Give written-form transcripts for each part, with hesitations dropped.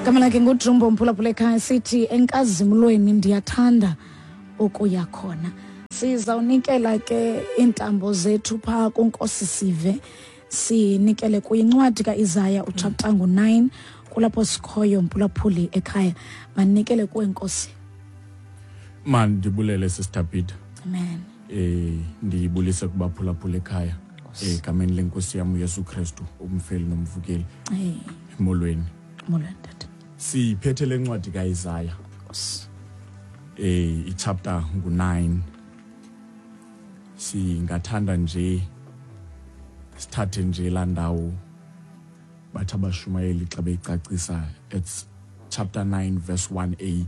Gama lakhe nguDrumbo, mphulaphula ekhaya, sithi enkazimlweni ndiyathanda ukuya khona. Sizawunikela ke iintambo zethu phaa kuNkosi Sive, sinikele kuyincwadi kaIsaya uchapter ngu-9, kulapho sikhoyo, mphulaphuli ekhaya. Manikele kuwe, Nkosi. Mandibulele, Sister Peter. Amen. Ndiyibulise kubaphulaphula ekhaya egameni lenkosi yam uYesu Kristu, umfeli nomvukeli. Hey. Molweni. Molweni, tata. Siphethe le ncwadi kaIsaya. Nkosi. Ichapter ngu-9. Singathanda nje sithathe nje laa ndawo bathi abashumayeli xa beyicacisa, it's chapter 9 verse 1a.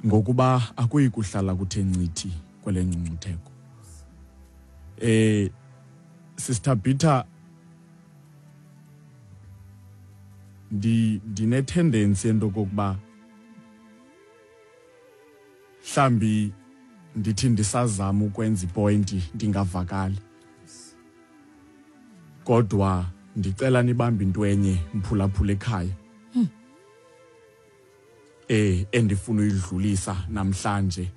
Ngokuba akuyi kuhlala kuthe ncithi kwele ngcungcutheko. Sister Peter, ndine tendency into kokuba mhlambi ndithi ndisazama ukwenza ipointi ndingavakali, kodwa ndicela nibambe into enye, mphulaphula ekhaya, endifuna uyidlulisa namhlanje.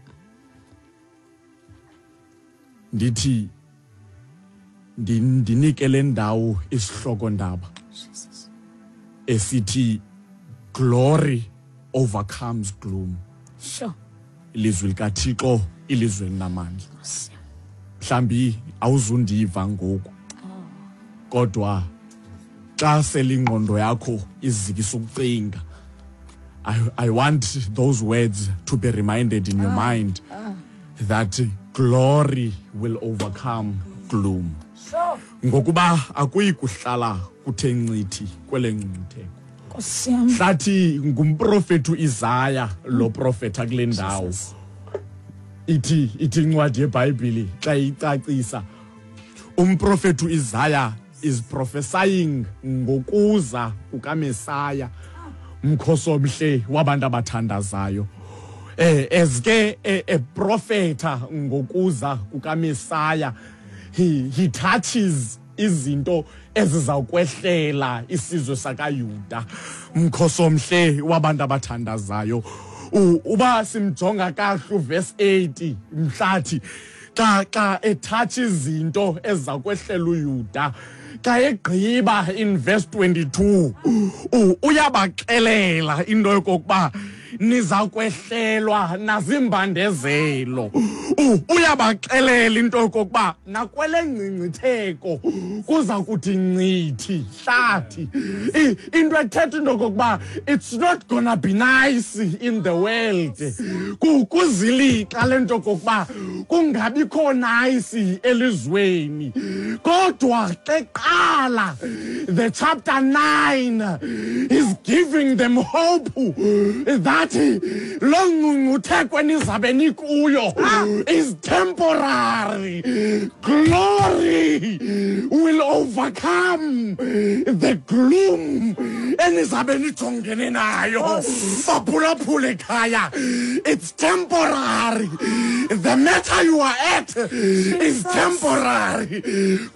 Ndithi ndinike le ndawo isihloko ndaba esithi glory overcomes gloom. Ilizwi likaThixo, ilizwi elinamandla. Mhlambi awuzundiva ngoku, kodwa xa selingqondo yakho izikisa ukucinga, I want those words to be reminded in your mind that glory will overcome gloom. Ngokuba akuyi kuhlala kuthe ncithi kwele ngcungcutheko. Nkosi yam. Hlathi ngumprofethi uIsaya lo profeta kule ndawo. Jesus. Ithi incwadi yeBhayibheli xa icacisa, umprofethi uIsaya is prophesying ngokuza kukaMesaya, mkhosi omhle wabantu abathandazayo. As ke eprofeta ngokuza kukaMesaya, he touches izinto ezizawukwehlela isizwe sakaYuda, mkhosi omhle wabantu abathandazayo. Uba simjonga kahle uverse 80, mhlathi xa ethatha izinto ezizakwehlela uYuda, xa egqiba in verse 22 uyabaxelela into yokokuba niza kwehlelwa nazimbandezelo. Uyabaxelela into yokokuba nakwele ngcingcitheko kuza kuthi ncithi hlathi. Into ethetha into yokokuba it's not gonna be nice in the world. Kuzilixa le nto yokokuba kungabikho nice elizweni, kodwa ke qala the chapter 9 is giving them hope that lo ngcungcutheko enizabe nikuyo is temporary. Glory will overcome the gloom enizabe nijongene nayo. Baphulaphule ekhaya, it's temporary. The matter you are at is temporary,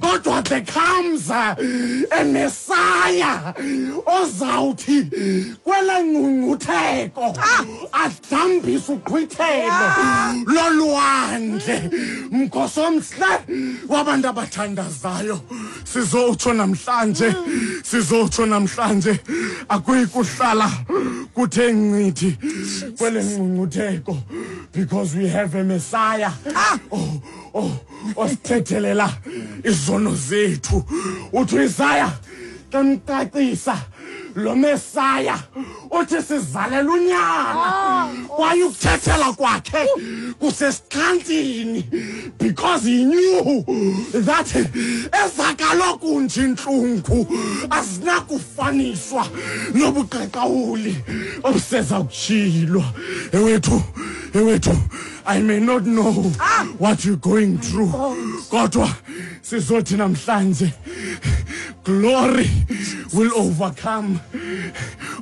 kodwa there comes a Messiah ozawuthi kwele ngcungcutheko adambise uqhwithelo lolwandle. Mkhosi omhle wabantu abathandazayo, sizotsho namhlanje, sizotsho namhlanje, akuyi kuhlala kuthe ncithi kwele ngcungcutheko, because we have a Messiah osithethelela izono zethu. Uthi uIsaya xa mcacisa lo Mesaya, uthi sizalela unyana, kwaye ukuthethela kwakhe kusesixhantini, because he knew that ezakaloku nje intlungu azinakufaniswa nobuqaqawuli obuseza kutshilwa. Ewethu, ewethu, I may not know what you're going through, kodwa sizothi namhlanje glory will overcome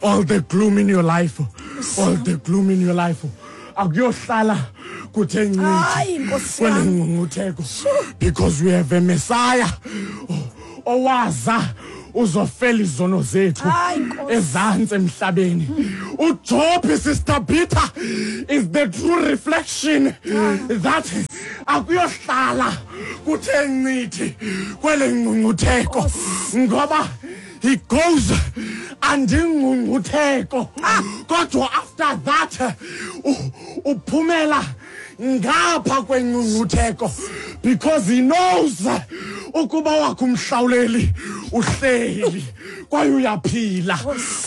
all the gloom in your life, all the gloom in your life. Akuyohlala kuthe ncithi Hayi, Nkosi kwele yam. ngcungcutheko, because we have a Messiah owaza. Uzofela izono zethu ezantsi emhlabeni. uJob, Sister Peter, is the true reflection that akuyohlala kuthe ncithi kwele ngcungcutheko, ngoba he goes andingcungcutheko, kodwa after that uphumela ngapha kwengcungcutheko, because he knows ukuba wakho umhlawuleli uhleli kwaye uyaphila.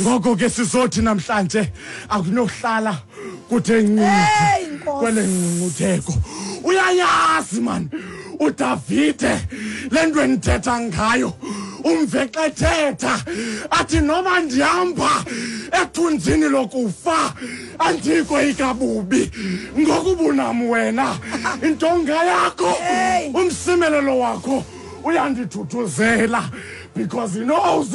Ngoko ke sizothi namhlanje akunokuhlala kuthe ncithi kwele ngcungcutheko. Uyayazi man uDavide le nto endithetha ngayo, umve xa ethetha athi, "Noba ndihamba ethunzini lokufa, andikoyika bubi, ngokubunam wena, intonga yakho, umsimelelo wakho uyandithuthuzela," because he knows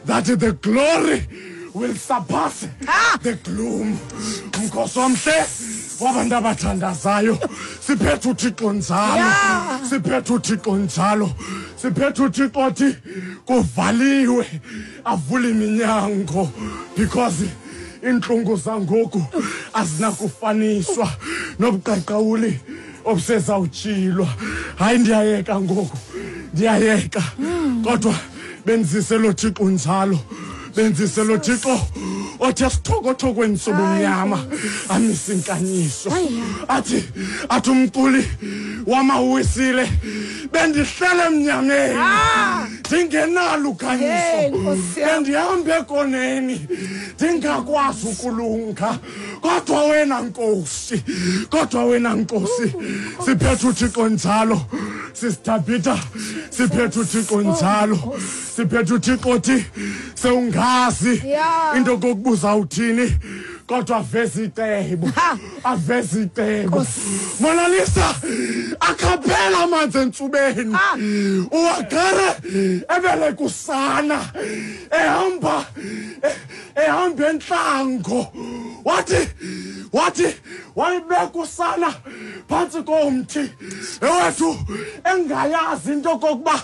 that the glory will surpass the gloom. Mkhosi omhle wabantu abathandazayo, siphethe uThixo njalo. Siphethe uThixo njalo, siphethe uThixo othi kuvaliwe avule iminyango, because iintlungu zangoku azinakufaniswa nobuqaqawuli obusezawutshilwa. Hayi, ndiyayeka ngoku, ndiyayeka, kodwa benzise lo Thixo njalo, benzise lo Thixo othi esithokothokweni sobumnyama amise inkanyiso. Athi umculi wamawisile, "Bendihlele emnyameni ndingenalo ukhanyiso, bendihamba ekoneni ndingakwazi ukulunga, kodwa wena Nkosi, kodwa wena Nkosi." Siphethe uThixo njalo, Sister Peter, siphethe uThixo njalo, siphethe uThixo othi sewungazi into kokubuza uthini, kodwa aveze icebo, aveze icebo. Monalisa, akhaphela amanzi entsubeni, uHagare ebeleka usana, ehamba entlango, wathi wayibeka usana phantsi komthi ewethu, engayazi into kokuba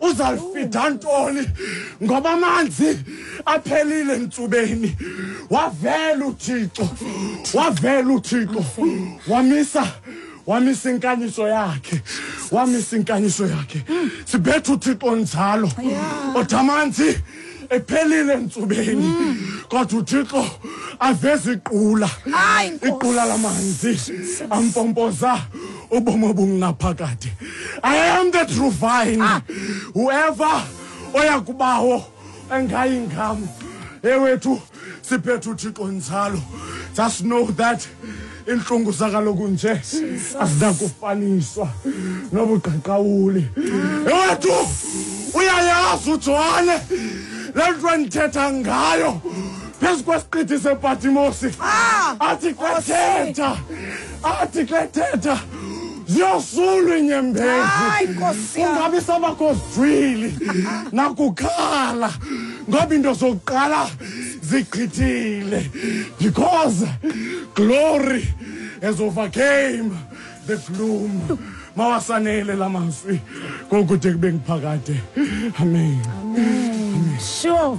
uzalifida ntoni, ngoba amanzi aphelile entsubeni. Wavela uThixo, wavela uThixo, wamisa inkanyiso yakhe, wamisa inkanyiso yakhe. Siphethe uThixo njalo othi amanzi ephelile entsubeni, kodwa uThixo aveze iqula, iqula lamanzi ampompoza ubomi obungunaphakade. I am the true vine. Whoever oya kubawo engayi ngam. Ewethu, siphethe uThixo njalo. Just know that intlungu zakaloku nje azinakufaniswa nobuqaqawuli. Ewethu, uyayazi uJohane le nto endithetha ngayo phezu kwesiqithi sePatimosi. Athi xa ethetha ziyosulwa iinyembezi, Hayi, Nkosi yam. kungabi sabakho zijwili nakukhala, ngoba into zokuqala zigqithile, because glory has overcame the gloom. Mawasanele la mazwi kokude kube ngiphakade. Amen. Sure.